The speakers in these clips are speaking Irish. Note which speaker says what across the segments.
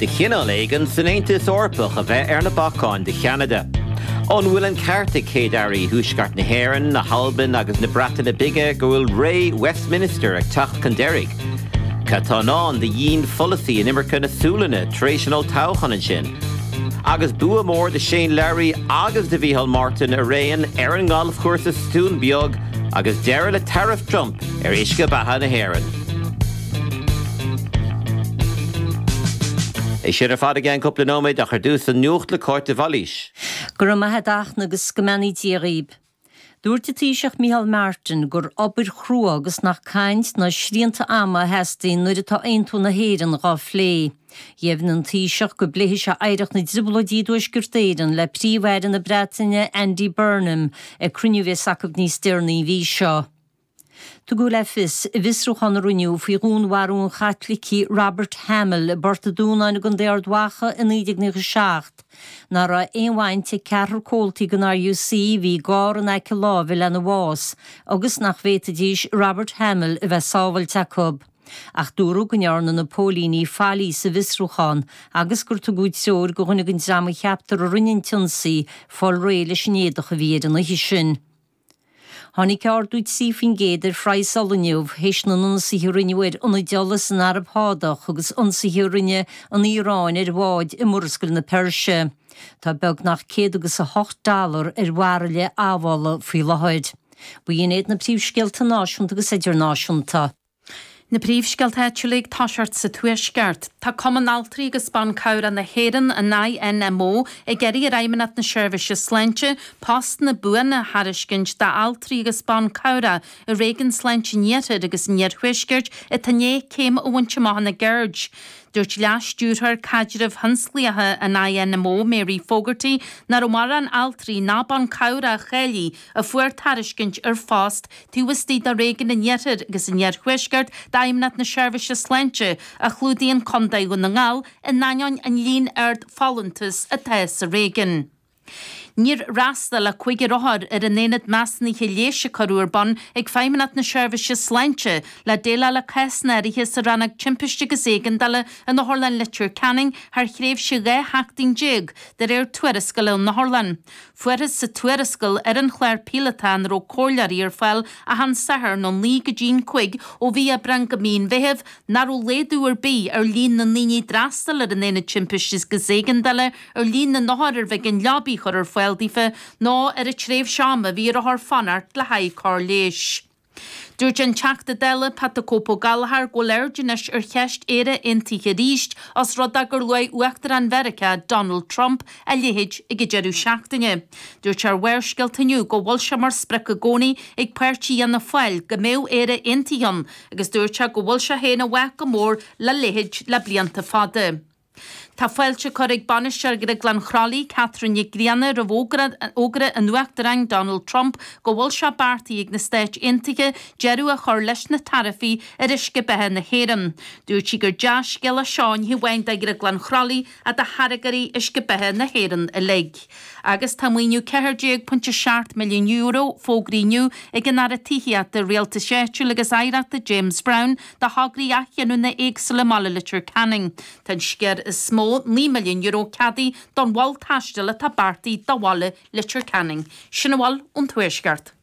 Speaker 1: de chineál éigin san Aontas Eorpach a bheith ar na bacáin do Cheanada. An bhfuil an ceart ag Céad-Airí Thuaisceart na hÉireann, na hAlban agus na Breataine Bige go bhfuil ré Westminster ag teacht chun deiridh? Cad tá i ndán do dhianpholasaí inimirce na Sualainne tar éis an olltoghcháin ansin? Agus bua mór do Shane Lowry agus do Mhícheál Martin araon ar an ngalfchúrsa sa Dún Beag agus deireadh le taraif Trump ar uisce beatha na hÉireann. É sin ar fad i gceann cúpla nóiméad ach ar dtús an nuacht le Cáit de Bhailís.
Speaker 2: Go raibh maith a't a Fhachtna agus go mbeannaí Dia dhaoib. Dúirt an Taoiseach Micheál Martin gur obair chrua agus nach caint ná srianta ama a theastaíonn nuair atá aontú na hÉireann dhá phlé. Dheimhnigh an Taoiseach go bpléifidh sé oidhreacht na dTrioblóidí i dTuaisceart Éireann le Príomh-Aire na Breataine Andy Burnham ag cruinniú a bheas acu níos deireanaí an mhí seo. Tugadh le fios i bhfiosrúchán a rinneadh faoi dhúnmharú an Chaitlicigh Robert Hamill i bPort an Dúnáin i gContae Ard Mhacha i 1997 nach raibh aon bhaint ag ceathrar comhaltaí den RUC a bhí i gcarr in aice láimhe lena bhás agus nach bhféadfaidís Robert Hamill a bheith sábhailte acu. Ach dúradh go ndearna na póilíní faillí sa bhfiosrúchán agus gur tugadh treoir do dhuine den dream a cheaptar a rinne an t-ionsaí fáil réidh leis an éadach a bhí air an oíche sin. Tháinig ardú 3% ar phraghas ola inniu théis na n-ionsaithe a rinneadh ar ionaid ola san Araib Shádach agus ionsaithe a rinne an Iaráin ar bháid i Murascaill na Peirse. Tá beagnach 108 dollar ar bhairille amhola faoi láthair. B'in iad na príomhscéalta náisiúnta agus idirnáisiúnta.
Speaker 3: Na príomhscéalta áitiúla ag toiseacht sa Tuaisceart. Tá Cumann Altraí agus Ban Cabhrach na hÉireann, an INMO, ag iarraidh ar Fheidhmeannacht na Seirbhíse Sláinte postanna buana a thairiscint d'altraí agus ban cabhrach i Réigiún Sláinte an Iarthair agus an Iarthuaiscirt atá i ndiaidh céim a bhaint amach ina gceird. Dúirt Leas-Stiúrthóir Caidrimh Thionsclaíocha an INMO, Mary Fogarty, nach raibh mórán altraí ná ban cabhrach a cháiligh a fuair tairiscint ar phost Taobh istigh de Réigiún an Iarthair agus an Iarthuaiscirt d'Fheidhmeannacht na Seirbhíse Sláinte, a chlúdaíonn Contae Dhún na nGall, in ainneoin an líon ard folúntas atá sa réigiún. Níor fhreastail ach cúigear othar ar an aonad measúnaithe leighis a cuireadh ar bun ag Feidhmeannacht na Seirbhíse Sláinte le déileáil le cásanna áirithe sa rannóg Timpiste agus Éigeandála in Otharlann Leitir Ceanainn thar thréimhse 12 sheachtain de réir tuarascáil ón otharlann. Fuarthas sa tuarascáil ar an chlár píolótach ina raibh comhairleoirí ar fáil achan Satharn ón 9 go dtí'n 5 ó mhí Aibreáin go mí an Mheithimh nach raibh laghdú ar bith ar líon na ndaoine a d'fhreastail ar an Aonad Timpiste agus Éigeandála, ar líon na n-othar arbh éigean leabaí a chur ar fáil daofa ná ar an tréimhse ama a bhí ar othair fanacht le haghaidh cóir leighis. Dúirt an Teachta Dála Pat 'The Cope' Ó Gallchóir go bhfuil aird anois ar cheist Éire Aontaithe arís os rud é gur luaigh Uachtarán Mheiriceá Donald Trump a leithéid ag an deireadh seachtaine. Dúirt sé ar Bharrscéalta inniu go bhfuil sé mar sprioc i gcónaí ag páirtí Fhianna Fáil go mbeadh Éire Aontaithe ann agus dúirt sé go bhfuil sé féin i bhfách go mór le leithéid le blianta fada. Tá fáilte curtha ag Bainisteoir Dhrioglann Chroithlí, Catherine Nic Grianna, roimh fhógra an Uachtaráin Donald Trump go bhfuil sé beartaithe ag na Stáit Aontaithe deireadh a chur leis na taraifí ar uisce beatha na hÉireann. Dúirt sí gur dea-scéal é seo ní hamháin do Dhrioglann Chroithlí ach do tháirgeoirí uisce beatha na hÉireann uilig. Agus tá maoiniú €14.7 milliún fógraithe inniu ag an Aire Tithíochta, Rialtais Áitiúil agus Oidhreachta James Browne do thograí athghiniúna éagsúla i mbaile Leitir Ceanainn. Tá an sciar is mó, €9 milliún, ceadaithe don mhol taistil atá beartaithe do bhaile Leitir Ceanainn. Sin a bhfuil ón Tuaisceart.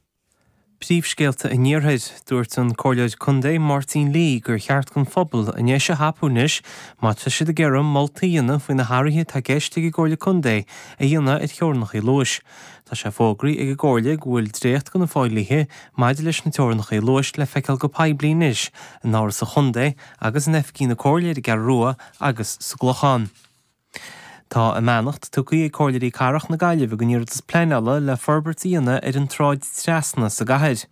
Speaker 4: Príomhscéalta an Iarthair. Dúirt an Comhairleoir Contae Máirtín Lee gur cheart don phobal a ndeis a thapú anois má tá siad ag iarraidh moltaí a dhéanamh faoi na hathruithe atá i gceist ag an gComhairle Contae a dhéanamh ar theorainneacha luais. Tá sé fógraithe ag an gComhairle go bhfuil dréacht de na fodhlíthe maidir leis na teorainneacha luais le feiceáil go poiblí anois in Áras an Chontae agus in oifigí na Comhairle ar an gCeathrú Rua agus sa gClochán. Tá a mbeannacht tugtha ag Comhairleoirí Cathrach na Gaillimhe don iarratas pleanála le forbairt a dhéanamh ar an tSráid Trasna sa gcathair.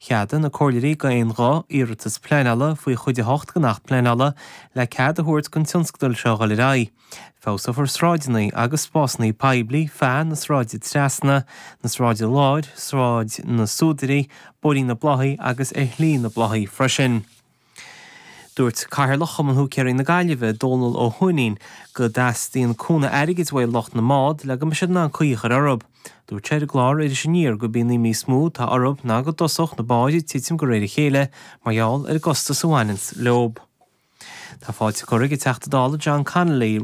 Speaker 4: Cheadaigh na Comhairleoirí d'aon ghuth iarratas pleanála faoi Chuid 8 den Acht Pleanála le cead a thabhairt don tionscadal seo a dhul ar aghaidh. Feabhsófar sráideanna agus spásanna poiblí feadh na Sráide Trasna, na Sráide Láir, Sráid na Súdairí, Bóithrín na Bláthaí agus ar Shlí na Bláthaí freisin. Dúirt Cathaoirleach Chumann Húicéirí na Gaillimhe, Dónal Ó hUaithnín, go dteastaíonn cúnamh airgid uaidh lucht na mbád le go mbeidh siad in ann caoi a chur orthu. Dúirt sé ar an gclár Iris Aniar gurb í an imní is mó atá orthu ná go dtosódh na báid ag titim de réir a chéile mar gheall ar an gcostas a bhaineanns leob. Tá fáilte curtha ag an Teachta Dála John Connolly.